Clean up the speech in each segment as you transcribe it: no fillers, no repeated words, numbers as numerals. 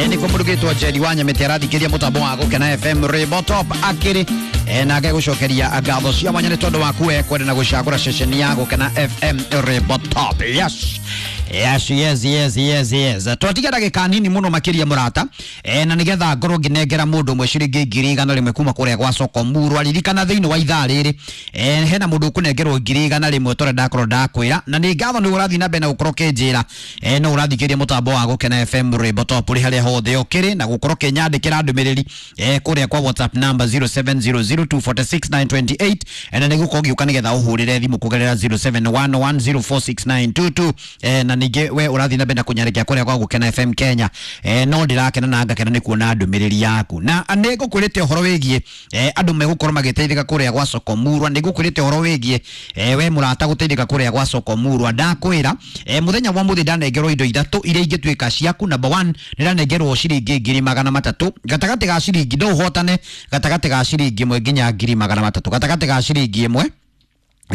Nĩkuo mũndũ gĩtwo Njeri wa Nyamĩtĩ arathikĩria mũtambo wa Gũkena FM Rainbow Top akĩrĩ nake gũcokeria ngatho cia mwanya nĩ tondũ waku we kwenda na gũcagũra ceceni ya Gũkena FM Rainbow Top. Yes. Yes, yes, yes, yes, yes. Twatiga ndagĩka nini mũno makĩria mũrata na nĩgetha ngorwo ngĩnengera mũndũ ũmwe ciringi 100,000 kuma kũrĩa gwa soko murwa. Ririkana thĩinĩ wa ithaa rĩrĩ hena mũndũ ũkũnengerwo 100,000 tondũ ndakorwo ndakwĩra, na nĩ ngatho nĩ ũrathiĩ na mbere na gũkorwo ũkĩnjĩra no ũrathikĩria mũtambo wa Gũkena FM Rainbow Top ũrĩ harĩa hothe ũkĩrĩ, na gũkorwo ũkĩnyandĩkĩra ndũmĩrĩri kũrĩa kwa WhatsApp number 0700246928 na nĩgũkorwo ngĩũka nĩgetha ũhũrĩre thimũ kũgerera 0711046922 na ningĩ we ũrathiĩ na mbere na kũnyarĩkia kũrĩa kwa Gũkena FM Kenya no ndĩrakena na ngakena nĩ kuona ndũmĩrĩri yaku, na nĩ ngũkwĩrĩte ũhoro wĩgiĩ andũ megũkorwo magĩteithĩka kũrĩa gwa soko murwa. Nĩ ngũkwĩrĩte ũhoro wĩgiĩ we mũrata gũteithĩka kũrĩa gwa soko murwa. Ndakwĩra mũthenya wa mũthĩ ndanengerwo indo ithatũ iria ingĩtuĩka ciaku. Number 1 nĩ ndanengerwo ciringi 300,000 gatagatĩ ga ciringi no ũhotane gatagatĩ ga ciringi 1 nginya 300,000 gatagatĩ ga ciringi 1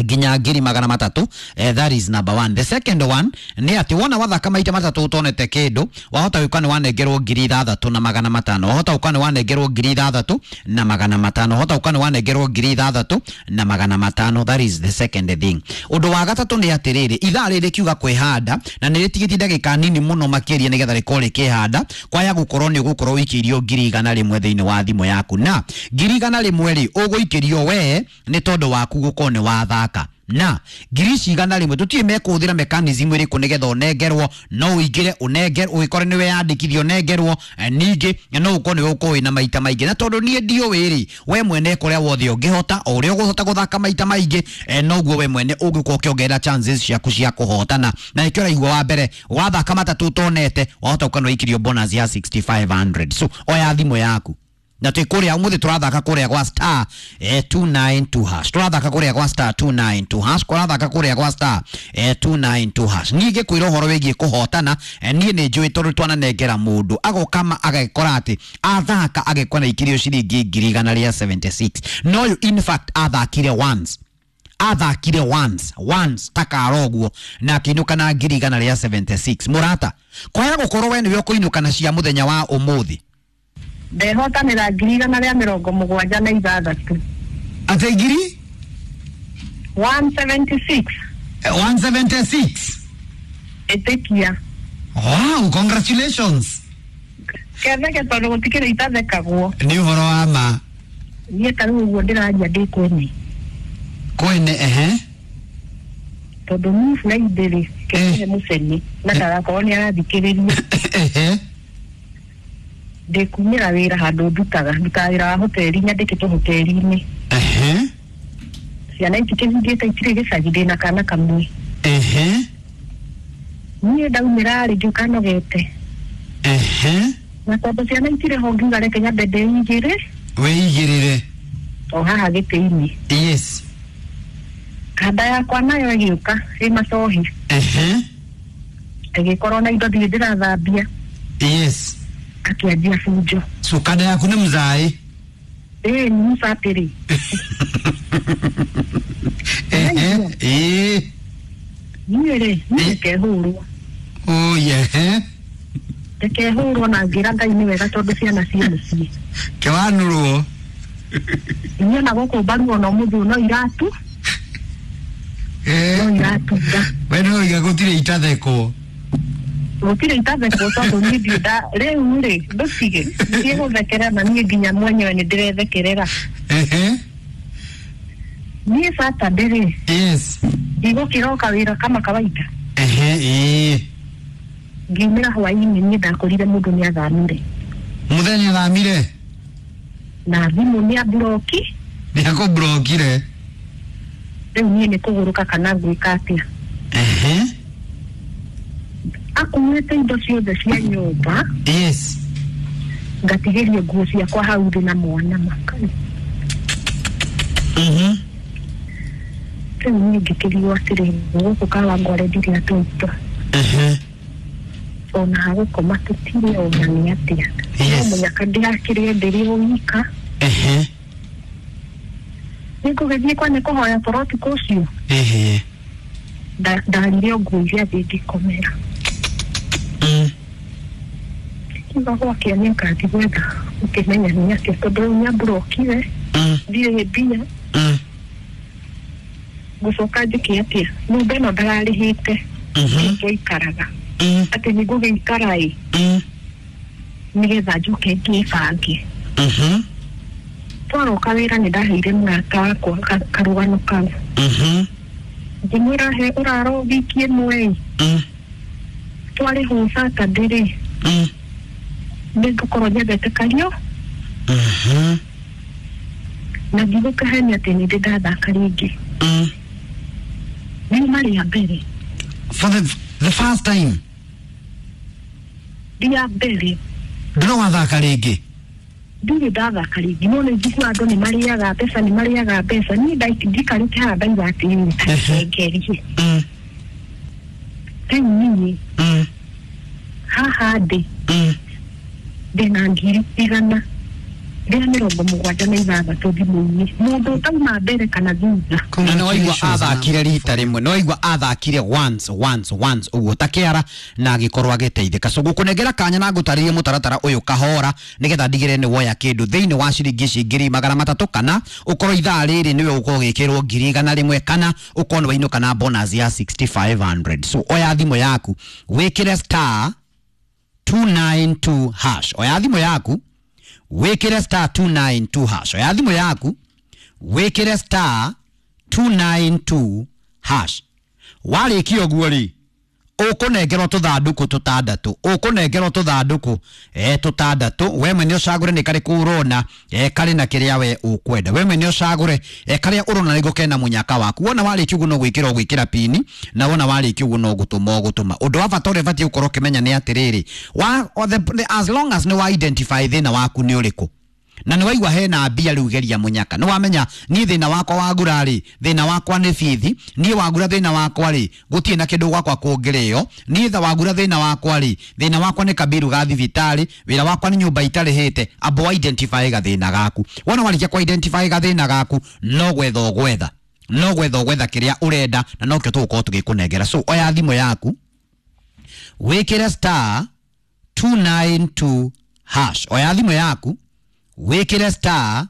nginya 300,000. That is number 1. The second one nĩ atĩ wona wathaka maita matatũ ũtonete kĩndũ, wahota gũka nĩ wanengerwo 6,500, wahota gũka nĩ wanengerwo 6,500, wahota gũka nĩ wanengerwo 6,500. That is the second thing. Ũndũ wa gatatũ nĩ atĩrĩrĩ, ithaa rĩrĩ kiuga kwĩhanda na nĩ rĩtigĩtie ndagĩka nini mũno makĩria nĩgetha rĩkorwo rĩkĩhanda, kwaya gũkorwo nĩ ũgũkorwo ũikĩirio 100,000 thĩinĩ wa thimũ yaku, na 100,000 rĩ ũgũikĩrio we nĩ tondũ waku gũkorwo nĩ wathaka na 100,000. Tũtirĩ mekũhũthĩra mechanism ĩrĩkũ nĩgetha ũnengerwo, no ũingĩre ũnengerwo, ũgĩkore nĩwe yandĩkithio ũnengerwo, ningĩ no ũkorwo nĩwe ũkorwo wĩna maita maingĩ, na tondũ niĩ ndiũĩ rĩ, we mwene kũrĩa wothe ũngĩhota, o ũrĩa ũgũhota gũthaka maita maingĩ noguo we mwene ũngĩkorwo ũkĩongerera chances ciaku cia kũhotana. Na nĩkĩo ũraigua wa mbere wathaka matatũ ũtonete wahota gũkorwo nĩwaikĩrio bonus ya 6500. So oya thimũ yaku na twĩ kũrĩa ũmũthĩ tũrathaka kũrĩa gwa star 292 hash, tũrathaka kũrĩa gwa star 292 hash, tũrathaka kũrĩa gwa star 292 hash. Niĩ ngĩkwĩra ũhoro wĩgiĩ kũhotana niĩ nĩ njũĩ tondũ twananengera mũndũ agoka agekora atĩ athaka agekora na ikirio ciringi 176, no ũyũ in fact athakire once, athakire once takara ũguo na akĩinũka na 176. Mũrata, kwaya gũkorwo we nĩwe ũkũinũka na cia mũthenya wa ũmũthĩ. Ndehotanĩra 176. Atĩ ngiri 176. 176. Ĩtĩkia. Wow, congratulations. Ketheke tondũ gũtikĩrĩ itathekagwo. Nĩ ũhoro wa ma. Niĩ ta rĩu ũguo ndĩraria ndĩ kwene. Kwene, ehe. Tondũ niĩ Friday rĩ, kĩhe mũceni na ndagakorwo nĩ arathikĩrĩria. Ehe. Ndĩkumĩra wĩra handũ ndutaga wĩra wa hoteli, nyandĩkĩtwo hoteli-inĩ. Ehe. Ciana itikĩhingĩte itirĩ gĩcagi, ndĩna kana kamwe. Ehe. Niĩ ndaumĩra rĩ ngĩũka nogete. Ehe. Na tondũ ciana itirĩ ho ngiuga reke nyambe ndĩigĩre. Wĩigĩrĩre. O haha gĩtĩ-inĩ. Yes. Kanda yakwa nayo ĩgĩũka ĩ macohi. Ehe. Ĩgĩkorwo na indo ndirĩ ndĩrathambia. Yes. Akĩanjia bunjo. So kanda yaku nĩ mzaĩ? Ĩĩ nĩ mũcatĩrĩ. Ehe. Ĩĩ. Niĩ rĩ, niĩ ndikehũrwo. Oh yeah. Ndikehũrwo na ngĩra Ngai nĩ wega tondũ ciana ciĩ mũciĩ. Kĩwanũrwo. Niĩ ona gũkũ mbaru ona ũmũthĩ no iratu. No iratunga. We no iga gũtirĩ itathekwo. Gũtirĩ itathekwo tondũ niĩ ndiũ nda rĩu rĩ ndũtige niĩ gũthekerera na niĩ nginya mwenyewe nĩ ndĩrethekerera. Ehe. Niĩ Saturday rĩ. Yes. Ndigũkĩroka wĩra kama kawaida. Ehe, ĩĩ. Ngiumĩra hwaĩ-inĩ niĩ ndakorire mũndũ nĩ athamire. Mũthenya athamire? Na thimũ nĩ amburoki. Nĩ akũmburokire. Rĩu niĩ nĩ kũgũrũka kana ngwĩka atĩa. Ehe. Akuĩte indo ciothe cia nyũmba. Yes. Ngatigĩrio nguo ciakwa hau thĩ na mwana makai. Mhm. Rĩu niĩ ngĩkĩrigwo atĩrĩ, gũkũ Kawangware ndirĩ atũitũ. Ehe. Ona hagũkoma tũtirĩ ona nĩ atĩa. Yes. No mũnyaka ndĩrakĩrĩe ndĩrĩ o wika. Ehe. Nĩngũgĩthiĩ kwa nĩ kũhoya toro ũtukũ ũcio. Ehe. Ndarire o nguo iria thĩ ngĩkomera. Akiuga gwakĩa nĩ ũkathi gwetha ũkĩmenya nĩ atĩa tondũ rĩu nĩamburokire ndirĩ mbia. Ngũcoka njĩke atĩa nyũmba ĩno ndararĩhĩte twaikaraga atĩ nĩ ngũgĩikara ĩ nĩgetha njoke ngĩbange. Twaroka wĩra nĩ ndaheire mũrata wakwa karũgano kau ngĩmwĩra he ũraro wiki ĩmwe ĩ twarĩhwo Saturday rĩ nĩ ngũkorwo nyendete kario na ndigũkahenia atĩ nĩ ndĩ ndathaka rĩngĩ riuma rĩa mbere. For the first time. Rĩa mbere. Ndũrĩ wathaka rĩngĩ. Ndirĩ ndathaka rĩngĩ no nĩ njiguaga andũ nĩ marĩaga mbeca nĩ marĩaga mbeca niĩ ndikarĩte haha ndauga atĩrĩrĩ ngerie rĩu niĩ haha ndĩ ndĩna 176,000 thimũ-inĩ mũndũ ũtauma mbere kana thutha. Na nĩ waigua athakire rita rĩmwe nĩ waigua athakire once once once ũguo ta kĩara na agĩkorwo agĩteithĩka. So gũkũnengera kanya na ngũtarĩrie mũtaratara ũyũ kahora nĩgetha ndigĩrĩre nĩ woya kĩndũ thĩinĩ wa ciringi ici 300,000 kana ũkorwo ithaa rĩrĩ nĩwe ũkorwo ũgĩkĩrwo 100,000 kana ũkorwo nĩ wainũka na bonus ya 6500. So oya thimũ yaku wĩkĩre star 292 hash. Oya thimũ yaku wĩkĩre star 292 hash. Oya thimũ yaku wĩkĩre star 292 hash. Warĩkia ũguo rĩ ũkũnengerwo tũthandũkũ tũtandatũ ũkũnengerwo tũthandũkũ tũtandatũ we mwene ũcagũre nĩ karĩkũ ũrona karĩ na kĩrĩa we ũkwenda we mwene ũcagũre karĩa ũrona nĩguo kena mũnyaka waku wona warĩkia ũguo no gwĩkĩra ũgwĩkĩra pini na wona warĩkia ũguo no gũtũma ũgũtũma. Ũndũ wa bata ũrĩa ũbatiĩ gũkorwo ũkĩmenya nĩ atĩrĩrĩ as long as nĩ wa identify thĩna waku nĩ ũrĩkũ na nĩ waigua hena mbia rĩu geria mũnyaka nĩ wamenya niĩ thĩna wakwa wagura rĩ thĩna wakwa nĩ bithi niĩ wagura thĩna wakwa rĩ gũtirĩ na kĩndũ gwakwa kũngĩrĩo niĩ tha wagura thĩna wakwa rĩ thĩna wakwa nĩ kabiru ga thibitarĩ wĩra wakwa nĩ nyũmba itarĩhĩte amba identify gathĩna gaku wona warĩkia ku identify gathĩna gaku no gwetha ũgwetha no gwetha ũgwetha kĩrĩa ũrenda na nokĩo tũgũkorwo tũgĩkũnengera. So oya thimũ yaku wĩkĩre star 292 hash. Oya thimũ yaku wĩkĩre star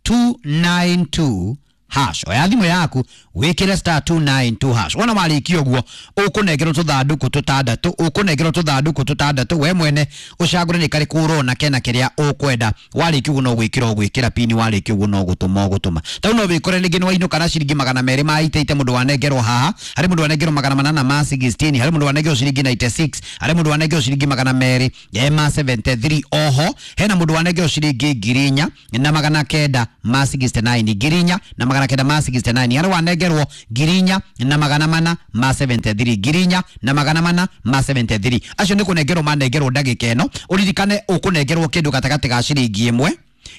292 hash. Oya thimũ yaku wĩkĩre star 292 hash. Wona warĩkia ũguo ũkũnengerwo tũthandũkũ tũtandatũ ũkũnengerwo tũthandũkũ tũtandatũ we mwene ũcagũre nĩ karĩkũ ũrona kena kĩrĩa ũkwenda warĩkia ũguo no gwĩkĩra ũgwĩkĩra pini warĩkia ũguo no gũtũma ũgũtũma tau no wĩkore rĩngĩ nĩ wainũka na ciringi 288 mũndũ wanengerwo haha harĩ mũndũ wanengerwo 816 harĩ mũndũ wanengerwo ciringi 96 harĩ mũndũ wanengerwo ciringi 273 oho hena mũndũ wanengerwo ciringi 4,969 4,969 harĩ wanengerwo 4,473 4,473 acio nĩ kũnengerwo manengerwo ndagĩka ĩno ũririkane ũkũnengerwo kĩndũ gatagatĩ ga ciringi 1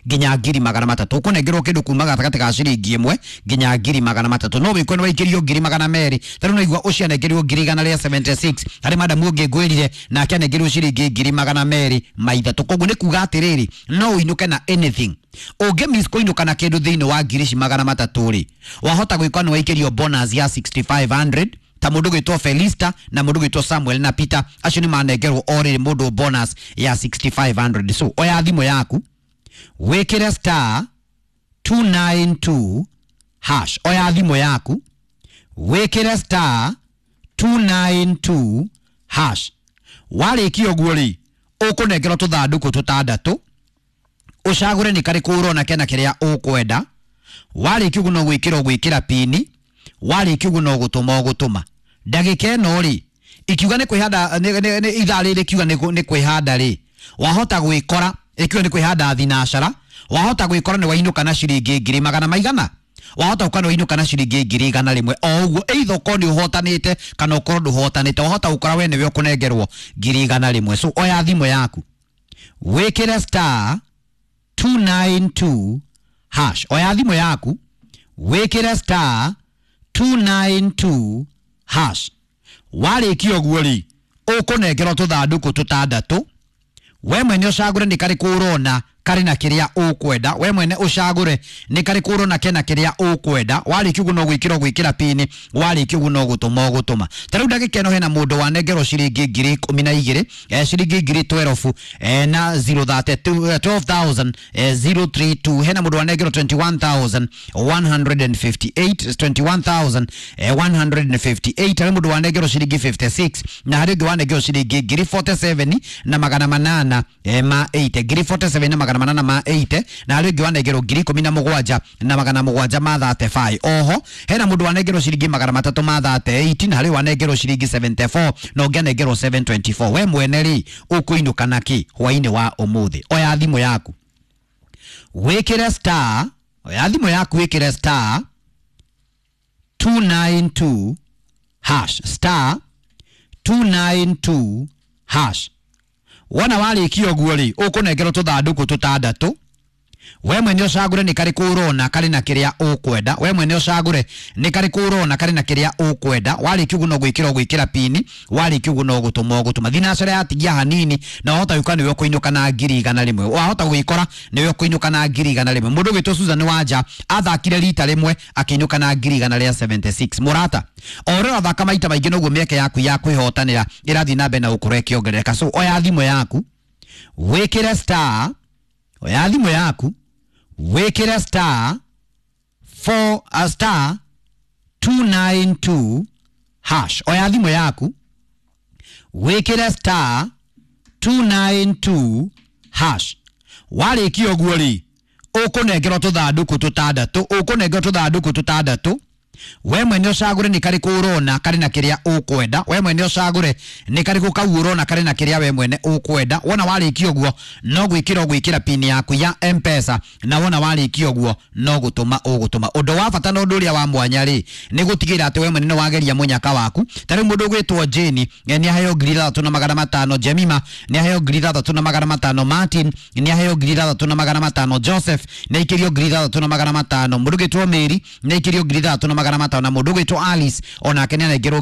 nginya 300,000 ũkũnengerwo kĩndũ kuma gatagatĩ ga ciringi 1 nginya 300,000 no wĩkwe nĩ waikĩrio 200,000 tarĩu no igua ũcio anengerirwo 176,000 harĩ madamu ũngĩ ngwĩrire nake anengerirwo ciringi 203,000 koguo nĩ kuga atĩrĩrĩ no ũinũke na anything ũngĩ miss kũinũka na kĩndũ thĩinĩ wa 300,000 rĩ wahota gwĩka nĩ waikĩrio bonus ya 6500 ta mũndũ gwĩtwo Felista na mũndũ gwĩtwo Samuel na Peter acio nĩ manengerwo o rĩrĩ mũndũ bonus ya 6500. So oya thimũ yaku wĩkĩre star 292 hash. Oya thimũ yaku wĩkĩre star 292 hash. Warĩkia ũguo rĩ ũkũnengerwo tũthandũkũ tũtandatũ ũcagũre nĩ karĩkũ ũrona kena kĩrĩa ũkwenda warĩkia ũguo no gwĩkĩra ũgwĩkĩra pini warĩkia ũguo no gũtũma ũgũtũma ndagĩka ĩno rĩ ikiuga nĩ kwĩhanda ithaa rĩrĩ kiuga nĩ kwĩhanda rĩ wahota gwĩkora ikiuga nĩ kwĩhanda thinacara wahota gwĩkora nĩ wainũka na ciringi 100,000 maigana wahota gũkorwo nĩ wainũka na ciringi 100,000 o ũguo either ũkorwo nĩ ũhotanĩte kana ũkorwo ndũhotanĩte wahota gũkora we nĩwe ũkũnengerwo 100,000. So oya thimũ yaku wĩkĩre star 292 hash. Oya thimũ yaku wĩkĩre star 292 hash. Warĩkia ũguo rĩ ũkũnengerwo tũthandũkũ tũtandatũ we mwene ũcagũre nĩ karĩkũ ũrona karĩ na kĩrĩa ũkwenda. We mwene ũcagũre nĩ karĩkũ ũrona kena kĩrĩa ũkwenda. Warĩkia ũguo no gwĩkĩra ũgwĩkĩra pini, warĩkia ũguo no gũtũma ũgũtũma. Ta rĩu ndagĩka ĩno hena mũndũ wanengerwo ciringi 12,000, ciringi ngiri 12 na 032, 12,000 032. Hena mũndũ wanengerwo 21,158, 21,158. Harĩ mũndũ wanengerwo ciringi 56 na harĩ ũngĩ wanengerwo ciringi ngiri 47 na magana manana ma 80, ngiri 47 na magana manana ma 80, na harĩ ũngĩ wanengerwo ngiri 17 na magana mũgwanja ma 35. Oho hena mũndũ wanengerwo ciringi magana matatũ ma 38 na harĩ wanengerwo ciringi 74 na ũngĩ anengerwo 724. We mwene rĩ, ũkũinũka na kĩ hwainĩ wa ũmũthĩ? Oya thimũ yaku wĩkĩre star, oya thimũ yaku wĩkĩre star 292 hash, star 292 hash. Wona warĩkia ũguo rĩ, ũkũnengerwo tũthandũkũ tũtandatũ. We mwene ũcagũre nĩ karĩkũ ũrona karĩ na kĩrĩa ũkwenda. We mwene ũcagũre nĩ karĩkũ ũrona karĩ na kĩrĩa ũkwenda. Warĩkia ũguo no gwĩkĩra ũgwĩkĩra pini, warĩkia ũguo no gũtũma ũgũtũma. Thinacara yatigia hanini na wahota gũka nĩwe ũkũinũka na 100,000. Wahota gwĩkora nĩwe ũkũinũka na 100,000. Mũndũ ũgwĩtwo Susan Wanja athakire rita rĩmwe akĩinũka na 176,000. Mũrata, o ũrĩa ũrathaka maita maingĩ noguo mĩeke yaku ya kwĩhotanĩra ĩrathiĩ na mbere na gũkorwo ĩkĩongerereka. So oya thimũ yaku wĩkĩre star, oya thimũ yaku wĩkĩre star 4 star 292 hash. Oya thimũ yaku wĩkĩre star 292 hash. Warĩkia ũguo rĩ, ũkũnengerwo tũthandũkũ tũtandatũ, ũkũnengerwo tũthandũkũ tũtandatũ. We mwene ũcagũre nĩ karĩkũ ũrona karĩ na kĩrĩa ũkwenda. We mwene ũcagũre nĩ karĩkũ kau ũrona karĩ na kĩrĩa we mwene ũkwenda. Wona warĩkia ũguo no gwĩkĩra ũgwĩkĩra pini yaku ya M-Pesa, na wona warĩkia ũguo no gũtũma ũgũtũma. Ũndũ wa bata na ũndũ ũrĩa wa mwanya rĩ, nĩ gũtigĩrĩra atĩ we mwene nĩ wageria mũnyaka waku. Ta rĩu mũndũ ũgwĩtwo Jane nĩ aheo 3,500, Jemima nĩ aheo 3,500, Martin nĩ aheo 3,500, Joseph nĩ aikĩrio 3,500, mũndũ ũgwĩtwo Mary nĩ aikĩrio 3,500, na mũndũ ũgwĩtwo Alice onake nĩ anengerwo